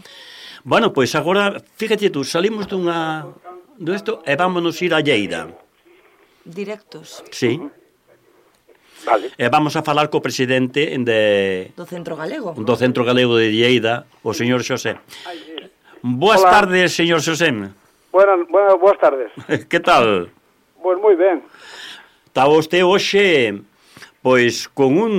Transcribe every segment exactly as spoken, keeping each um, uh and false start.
Galego. Bueno, pois agora, fíjate tú, salimos dunha desto e vámonos ir a Lleida. Directos. Sí. Vale. E vamos a falar co presidente de Do Centro Galego. do Centro Galego de Lleida, o señor Xosé. Boas Hola. tardes, señor Xosé. Buenas, buenas, boas tardes. Que tal? Pois moi ben. Está vostede hoxe, pois, con un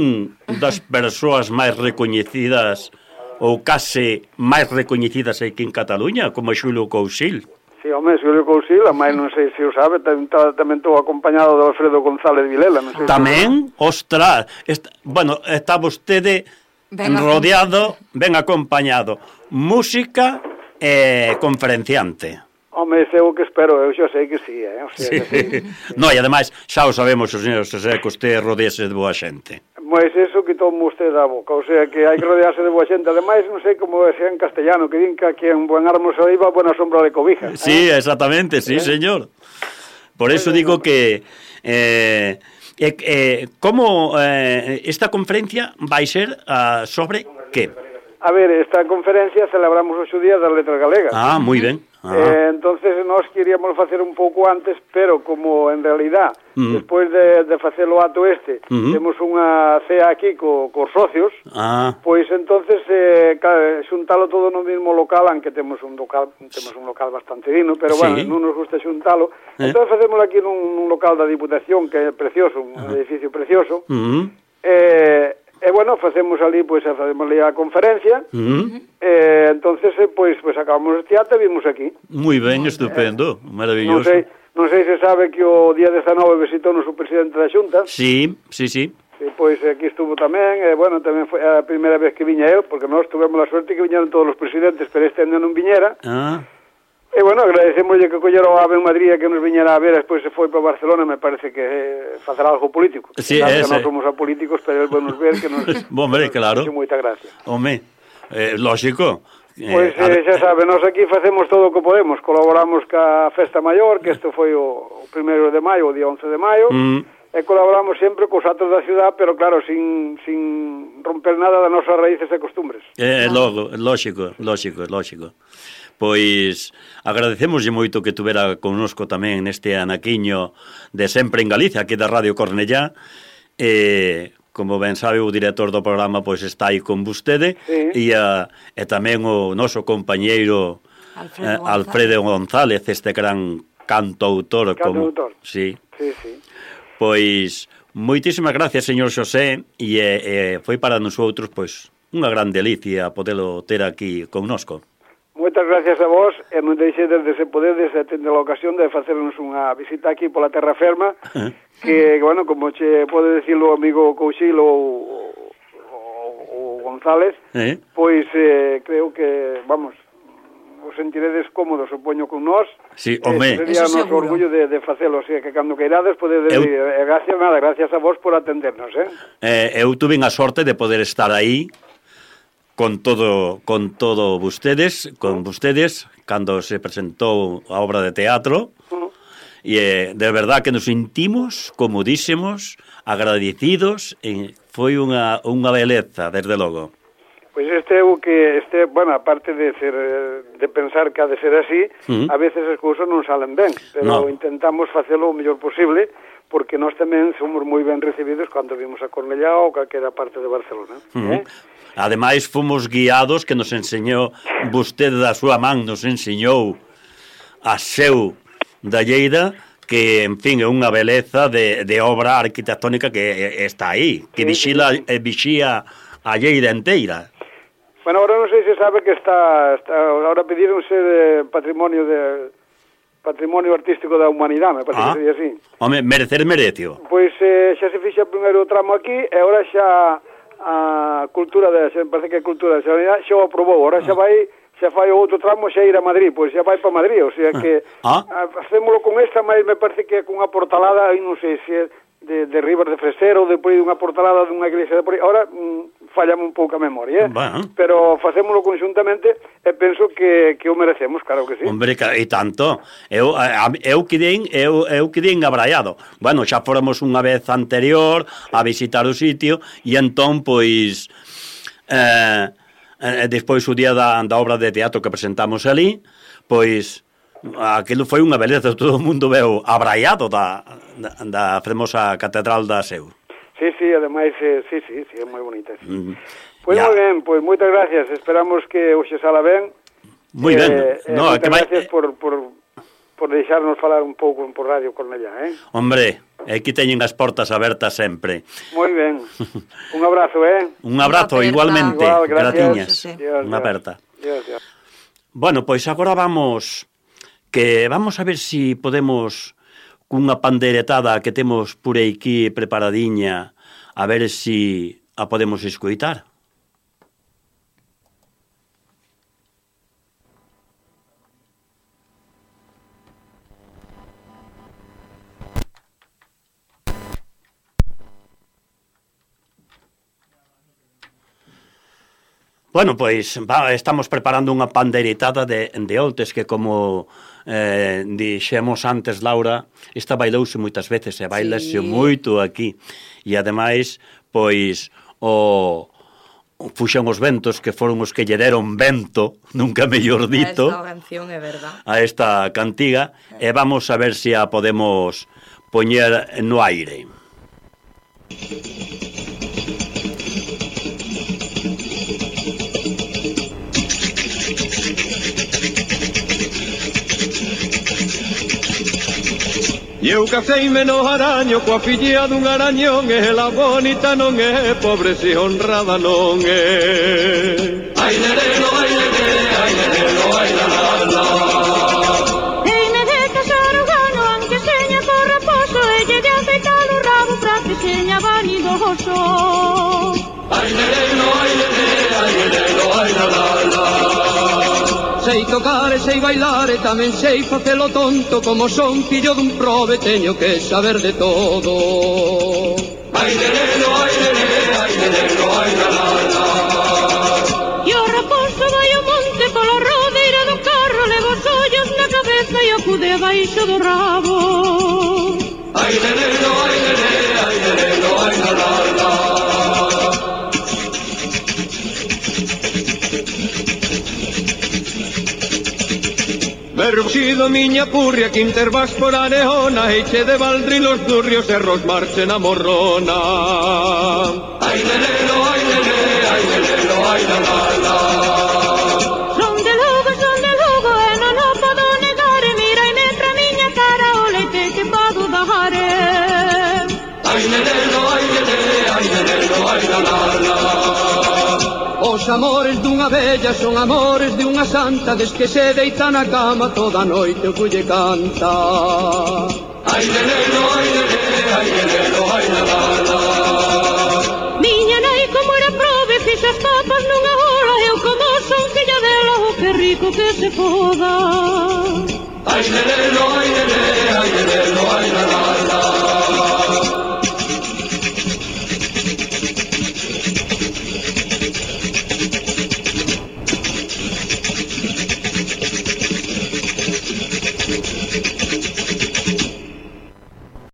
das persoas máis recoñecidas ou case máis recoñecidas aquí en Cataluña, como Xulio Cousil. Si, home, Xulio Cousil, a máis non sei se o sabe, tamén estou acompañado de Alfredo González Vilela, non sei. Tamén, ostras, está, bueno, está vostede Ben rodeado, ben acompañado, música e conferenciante. Home, ese é o que espero, eu xa sei que sí, eh? O sea, Sí. que sí. No, e ademais, xa o sabemos, o señor Xosé, que usted rodease de boa xente. Pois eso quitou-me usted da boca, o sea, que hai que rodearse de boa xente. Ademais, non sei como é en castellano, que din que aquí en buen árbol se iba, buena sombra le cobija. Sí, eh? exactamente, sí, ¿Eh? señor. Por eso digo que eh, eh, eh, como eh, esta conferencia vai ser uh, sobre que? A ver, esta conferencia celebramos ocho días das letras galegas. Ah, moi ben. Ah. Eh, entonces nós queríamos facer un pouco antes, pero como en realidad Mm. despois de, de facer o ato este Mm. temos unha cea aquí co, cos socios, Ah, pois entonces eh, ca- xuntalo todo no mismo local, aunque temos un local temos un local bastante digno, pero Sí. bueno, non nos gusta xuntalo. Eh. Entonces facémolo aquí nun, nun local da Diputación que é precioso, un Ajá. edificio precioso. mm, Eh, e bueno, facemos ali, pois facemos ali a conferencia. mm, Eh, entonces, eh, pois, pois acabamos este ato e vimos aquí. moi ben, estupendo, Non maravilloso. sei, non sei se sabe que o día dezanove visitou-nos o presidente da Xunta. Sí, sí, sí. E, pois aquí estuvo tamén, e bueno, tamén foi a primeira vez que viña eu, porque nós tuvemos a suerte que viñeron todos os presidentes, pero este ano non viñera. Ah, E bueno, agradecemoslle que collera o Ave en Madrid que nos viñera a ver, despois se foi para Barcelona, me parece que eh, facer algo político. Sí, Claro que ese. non somos apolíticos, pero el nos ver que nos... Bom, hombre, nos claro. fixo moita gracia. home, eh, lógico. Eh, Pois a eh, ver- xa sabe, nós aquí facemos todo o que podemos. Colaboramos ca Festa Maior, que isto foi o, o primeiro de maio, o día once de maio, Mm, e colaboramos sempre cos atos da ciudad, pero claro, sin, sin romper nada das nosas raíces e costumbres. É logo, lógico, lógico, lógico. Pois agradecemoslle moito que tuvera connosco tamén neste anaquiño de Sempre en Galicia, aquí da Radio Cornellá. E, como ben sabe, o director do programa pois está aí con vostede, Sí. e, a, e tamén o noso compañeiro Alfredo eh, González. Alfredo González, este gran cantautor. Cantautor. Como, sí. Sí, sí. Pois moitísimas gracias, señor Xosé, e, e foi para nosotros pois unha gran delicia podelo ter aquí connosco. Moitas gracias a vos, e non deixedes de se podedes e tende a ocasión de facernos unha visita aquí pola terra ferma, que, bueno, como che pode decir o amigo Cousil ou o González, Eh? pois eh, creo que, vamos, os sentiredes cómodos, supoño, con nós. Sí, home. Eh, sería Eso noso seguro. orgullo de, de facelo, o sea, que cando queirades podedes Eu- ir, e gracias, nada, gracias a vos por atendernos, eh? Eh, eu tuve a sorte de poder estar aí con todo con todo vostedes, con vostedes cando se presentou a obra de teatro. Uh, E eh, de verdad que nos sentimos comodísimos, agradecidos, e foi unha, unha beleza, desde logo. Pois este é o que, este, bueno, aparte de ser, eh, de pensar que ha de ser así, Mm. a veces as cousas non salen ben, pero No. intentamos facelo o mellor posible, porque nós tamén somos moi ben recibidos cando vimos a Cornellá ou calquera parte de Barcelona. Uh -huh. Eh? Ademais, fomos guiados, que nos enseñou, vostede da súa man nos enseñou a seu da Lleida, que, en fin, é unha beleza de, de obra arquitectónica que está aí, que Sí, vixila, sí, sí. eh, vixía a Lleida inteira. Bueno, ahora non sei se sabe que está, está ahora pedironse de patrimonio de patrimonio artístico da humanidade, me parece Ah. que sería así. Home, merecer merecio. Pois eh, xa se fixa o primeiro tramo aquí e ahora xa a cultura de, xa, parece que a cultura da sanidade xa o aprobou, ahora xa vai xa fai o outro tramo xa ir a Madrid, pois xa vai para Madrid, o sea que Ah. a, facémolo con esta, mas me parece que é cunha portalada, aí non sei se é de, de Ribas de Fresero ou de por aí dunha portalada dunha iglesia de por aí, ahora mm, fallame un pouco a memoria, eh? Bueno. Pero facémolo conxuntamente e penso que, que o merecemos, claro que sí. Hombre, ca- e tanto. Eu, a, a- eu quedei, eu, eu quedei abraiado. Bueno, xa fóramos unha vez anterior a visitar o sitio, e entón, pois, eh, e despois o día da, da obra de teatro que presentamos ali, pois aquilo foi unha beleza, todo o mundo veu abraiado da, da, da fermosa catedral da Seu. Sí, sí, ademais, eh, sí, sí, sí, é moi bonita. Sí. Mm. Pois Ya. moi ben, pois moitas gracias, esperamos que hoxe sala ben. Moi ben, eh, eh, no, moitas que vai... gracias por, por, por deixarnos falar un pouco por Radio Cornellá, eh? Hombre, aquí teñen as portas abertas sempre. Moi ben, un abrazo, eh? Un abrazo, Unha aperta. igualmente, Igual, gracias. gratiñas, Sí, sí. Dios, unha Dios. aperta. Dios, Dios. Bueno, pois agora vamos, que vamos a ver si podemos, cunha panderetada que temos por aquí preparadiña, a ver si a podemos escoitar. Bueno, pois va, estamos preparando unha pandeiretada de, de oltes que como eh, dixemos antes, Laura, esta bailouse moitas veces e bailase Sí. moito aquí. E ademais, pois, o, o fuxen os ventos que foron os que lle deron vento, nunca mellor dito, Esta canción é verdad. a esta cantiga, e vamos a ver se a podemos poñer no aire. E eu caceime no araño coa filla dun arañón, e la bonita non é, pobre se honrada non é. Ai lerelo, ai lerelo, ai lerelo, ai la la la. Teime de casar o gano, aunque seña por raposo, e lle de afeitar o rabo pra que seña vanidoso. Ai lerelo, ai lerelo, ai lerelo, ai la la la. Sei tocar e sei bailar e tamén sei facelo tonto, como son fillo dun prove teño que saber de todo. Ai lerelo, ai lerelo, ai lerelo, ai la la la. E o raposo vai ao monte pola rodeira do carro, leva os ollos na cabeza e acude baixo do rabo. Ai lerelo, ai lerelo, ai lerelo, ai la la la. Berruxido miña purria, que intervás por areona, e che de baldrilos durrios e ros marchen a morrona. Ai lerelo, ai lerelo, ai lerelo, ai la la la. Son de Lugo, son de Lugo, e non o podo negar, e miraime pra miña cara o leite que podo dar. Ai lerelo, ai lerelo, ai lerelo, ai la la la. Os amores dunha vella son amores de unha santa, des que se deita na cama toda a noite o culle canta. Ai lerelo, ai lerelo, ai lerelo, ai la la la. Miña nai como era prove, fixo as papas nunha hora, eu como son filla dela, o que rico que se foda. Ai lerelo, ai lerelo, ai lerelo, ai la la